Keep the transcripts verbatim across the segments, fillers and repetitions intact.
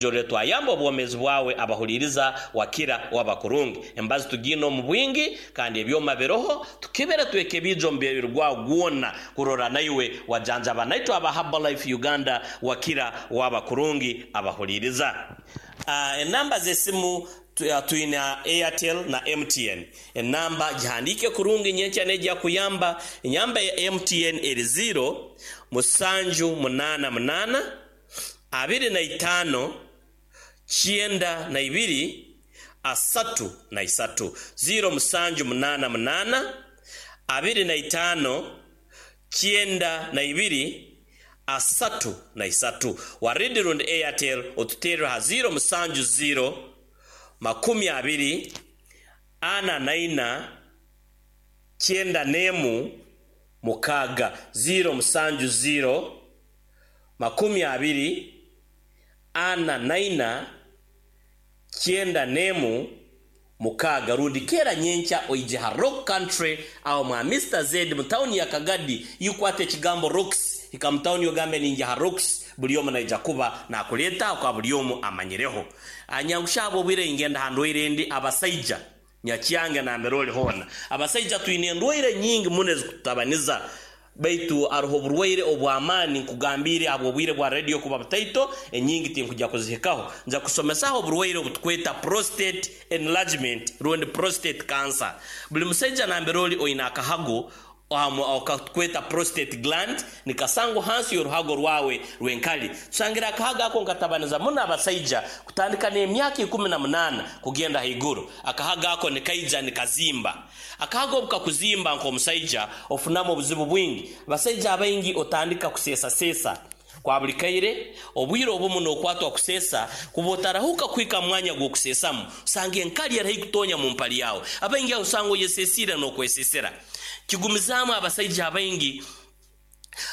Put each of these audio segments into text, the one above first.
Jore twayamba obwomezi bwawe abahuliriza wakira wabakurungi. Embazi tugina omu bwingi kandi ebyoma biroho tukibere twekebijo omubiri gwawe gwona kurora naiwe wajanjaba naitwe aba Herbalife Uganda wakira wabakurungi abahuliriza. Uh, enamba z'esimu twina Airtel na M T N. Enamba gihandike kurungi nyenkya nejja kuyamba. Enyamba ya M T N eri zero musanju munana munana abiri na itano kyenda na ibiri asatu na isatu. Zero musanju munana munana abiri na itano kyenda na ibiri asatu na isatu. Waridi rundi Airtel otuterera ha zero musanju zero makumi abiri ana na ina kyenda nemu mukaga. Zero musanju zero makumi abiri ana naina kyenda nemu mukaga. Rundi kera nyenkya oije ha Rock Country awo mwa Mister Z mu town ya Kagadi, yukwate ekigambo Rocks ikamutauni yogambe ninja ha Rocks buli omu naija kuba nakuleta kwa buli omu amanyireho. Anyangushabo bwire ingenda handwaire ndi abasaija nyakyange na meroli hona. Abasaija twine endwaire nyingi muno ezikutabaniza baitu aruho oburwaire obw'amaani nkugambire abwo bwire bwa radio kuba butaito enyingi tinkujja kuzihikaho. Nja kusomesaho oburwaire obutukweta prostate enlargement rundi prostate cancer. Buli musaija namberoli oina akahago okakweta prostate gland nikasango hansi y'oruhago rwawe rwenkali. Tusangira akahago ako nkatabaniza muno abasaija kutandika n'emyaka ikumi na munana kugenda haiguru. Akahago ako nikaija nikazimba. Akahago obukakuzimba nk'omusaija ofunamu obuzibu bwingi. Abasaija abaingi otandika kusesasesa kwa buli kaire. Obwire obumu n'okwatwa kusesa kuba otarahuka kwika mwanya gw'okusesamu usanga enkali erahai kutonya mu mpali yawe. Abaingi usanga oyesesire n'okwesesera. Kigumizaamu abasaija abaingi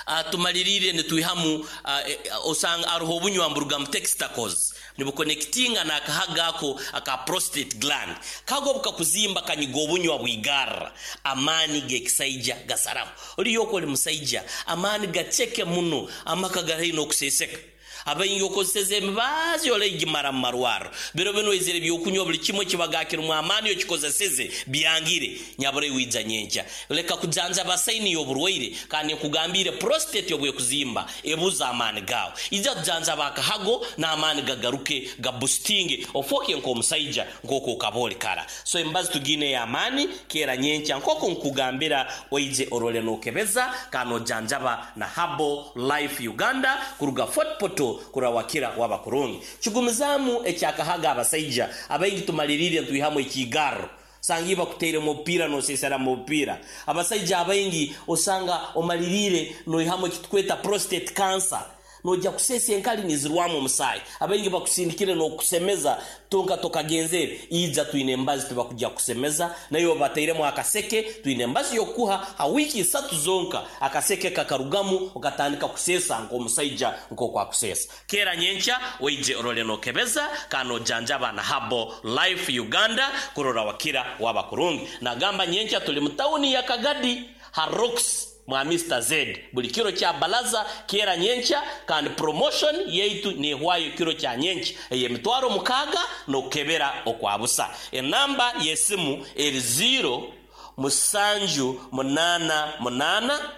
uh, tumalirire nitwihamu uh, osanga aruho obunywa mburuga mu testicles nibukonekitinga n'akahaga ako aka prostate gland. Kago bukakuzimba kanyiga obunywa bwigarra amaani g'ekisaija gasaraho. Oliyo oli musaija amaani gaceke muno amaka gari n'okuseseka. Abaingi okozeseza emibazi oleigimara mu marwaro. Biro bino ezire byokunywa buli kimwe kibagakira amaani okikozeseze byangire nyabure wija nyenkya. Leka kujanja basaini y'oburwaire kandi nkugambire prostate obwekuzimba ebuza amaani gawe. Ija kujanja bakahago n'amaani gagaruke gaboostinge ofoke nk'omusaija nk'oku okaboli kara. So embazi tugine ya amaani kera nyenkya nk'oku nkugambira oije orole n'okebeza kano janjaba na Herbal Life Uganda kuruga Fort Portal kurawakira wabakurungi. Kigumizamu ekyakahaga abasaija abaingi tumalirire ntwihamu ekigaro sangiba kuteire mupira no sesera mupira. Abasaija abaingi osanga omalirire noihamu ekitukweta prostate cancer noja kusesa enkali nizirwamu omusaayi. Abaingi bakusindikire n'okusemeza tonka tokagenzere ija twine embazi tibakujja kusemeza nayo batairemu akaseke. Twine embazi yokuha ha wiki isatu zonka akaseke kakarugamu okatandika kusesa nk'omusaija nk'okwakusesa. Kera nyenkya oije orole n'okebeza kano janjaba na Herbal Life Uganda kurora wakira wabakurungi. Nagamba nyenkya tuli mu tawuni ya Kagadi ha Rocks mwa Mister Z buli kiro kya balaza kera nyenkya kandi promotion yaitu nehwayo kiro kya nyenkya eyemitwaro mukaga nokebera okwabusa. Enamba yesimu eri zero musanju munana munana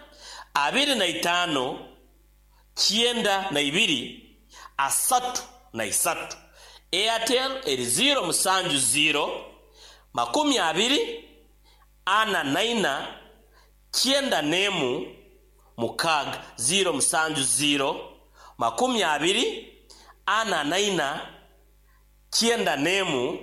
abiri na itano kyenda na ibiri asatu na isatu. Airtel eri zero musanju zero makumi abiri ana naina kyenda nemu mukaga. Zero musanju zero makumi abiri ana naina kyenda nemu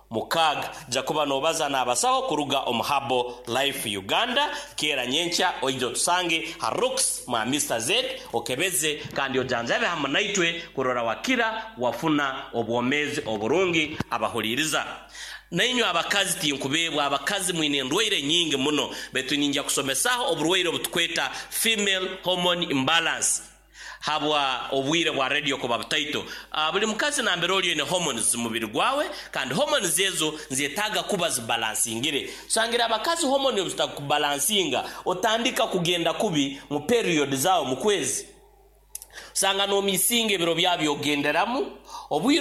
mukaga. Jakuba nobaza n'abasaho kuruga omu Herbal Life Uganda. Kera nyenkya oije otusange ha Rocks mwa Mister Z okebeze kandi ojanjabe hamwe naitwe kurora wakira wafuna obwomezi oburungi abahuliriza. Nainywe abakazi tinkubebwa abakazi mwine endwaire nyingi muno baitu ninja kusomesaho oburwaire obutukweta female hormone imbalance habwa obwire bwa radio kuba butaito. Uh, buli mukazi nambere oliyo ne hormones mubiri gwawe kandi hormones ezo nzetaga kuba zibalansingire. Sangira abakazi hormone zitakubalansinga otandika kugenda kubi mu period zao mu kwezi. Usanga nomisinga ebiro byabyo ogenderamu obwire.